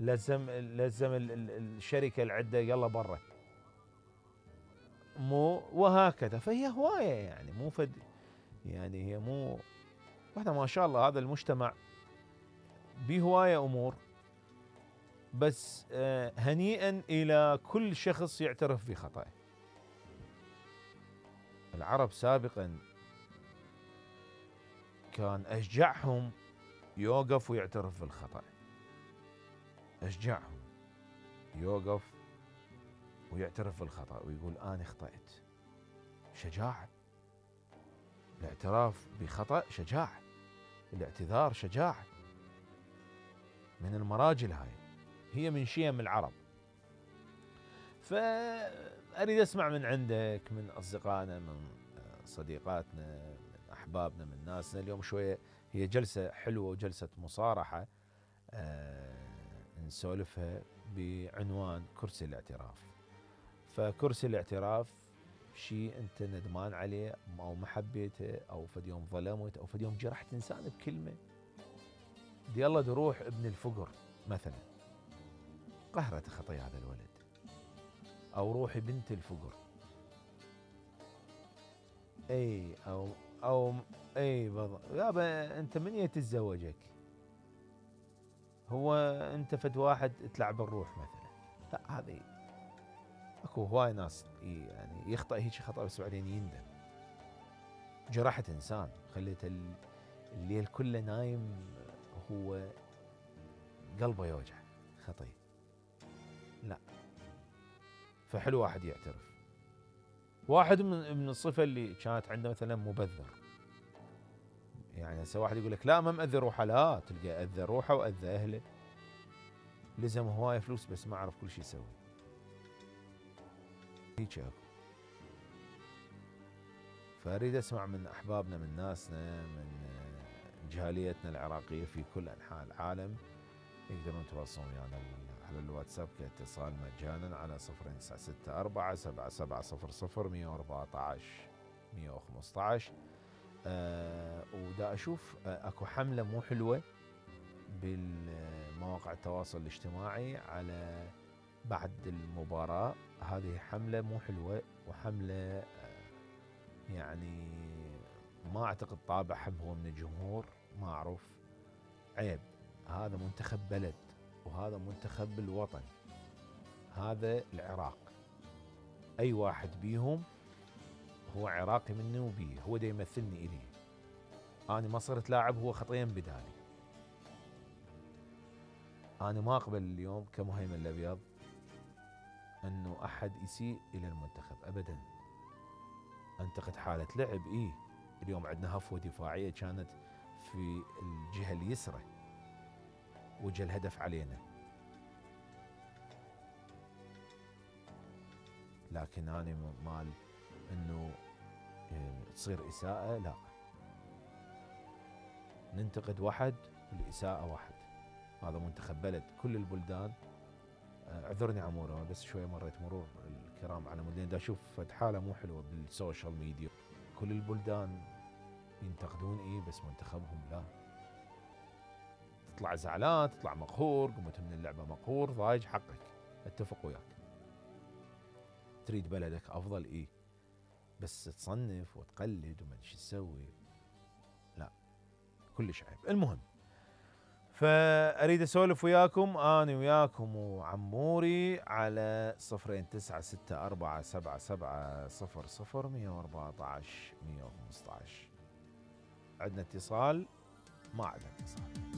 لزم الشركه اللي عنده يلا برا، مو وهكذا. فهي هوايه يعني مو فد، يعني هي مو واحنا ما شاء الله هذا المجتمع به هوايه امور. بس هنيئا الى كل شخص يعترف بخطأه. العرب سابقا كان اشجعهم يوقف ويعترف بالخطأ، اشجعهم يوقف ويعترف بالخطأ ويقول أنا أخطأت. شجاعة. الاعتراف بخطأ شجاعة، الاعتذار شجاعة. من المراجل هي من شيم العرب. فأريد أسمع من عندك، من أصدقائنا، من صديقاتنا، من أحبابنا، من ناسنا. اليوم شوية هي جلسة حلوة وجلسة مصارحة نسولفها بعنوان كرسي الاعتراف. فكرسي الاعتراف شيء انت ندمان عليه او ما حبيته، او فد يوم ظلمت، او فد يوم جرحت انسان بكلمه. يلا تروح ابن الفقر مثلا، قهرت خطايا هذا الولد، او روحي بنت الفقر، اي او اي يابا انت من يتزوجك؟ هو انت فد واحد تلعب الروح مثلا؟ لا، هذه اكو هواي ناس يعني يخطئ هيك خطأ بس بعدين يندم. جرحت انسان، خليت الليل كله نايم هو قلبه يوجع خطي. لا، فحلو واحد يعترف. واحد من الصفة اللي كانت عنده مثلا مبذر. يعني هسه واحد يقول لك لا ما مأذي روحه، لا، تلقى أذى روحه وأذى أهله، لزم هواية فلوس بس ما عرف كل شيء يسوي. هيك اكو. فأريد أسمع من أحبابنا، من ناسنا، من جاليتنا العراقية في كل أنحاء العالم. يقدرون يتواصلون ويانا على الواتساب كاتصال مجانا على 0964 7700 114 115. ودا أشوف أكو حملة مو حلوة بالمواقع التواصل الاجتماعي على بعد المباراة. هذه حملة مو حلوة، وحملة يعني ما أعتقد طابعهم هو من الجمهور، ما أعرف. عيب، هذا منتخب بلد، وهذا منتخب الوطن، هذا العراق. أي واحد بيهم هو عراقي مني وبيه، هو دا يمثلني إليه. أنا ما صرت لاعب، هو خطيا بدالي. أنا ما أقبل اليوم كمهيمن الأبيض أنه أحد يسيء إلى المنتخب أبدا. أنتقد حالة لعب. اليوم عندنا هفوة دفاعية كانت في الجهة اليسرى وجه الهدف علينا، لكن أنا مال أنه تصير إساءة، لا. ننتقد واحد والإساءة واحد. هذا منتخب بلد، كل البلدان. اعذرني عمورة بس شوية مريت مرور الكرام على مدينة دا أشوف فد حالة مو حلوة بالسوشيال ميديا. كل البلدان ينتقدون بس منتخبهم لا. تطلع زعلان، تطلع مقهور، قمت من اللعبة مقهور ضايج، حقك، اتفق وياك. تريد بلدك أفضل بس تصنف وتقلد وما شو تسوي، لا، كلش عيب. المهم، فأريد أسولف وياكم أنا وياكم وعموري على 0964 7700 114 115. عندنا اتصال؟ ما عندنا اتصال.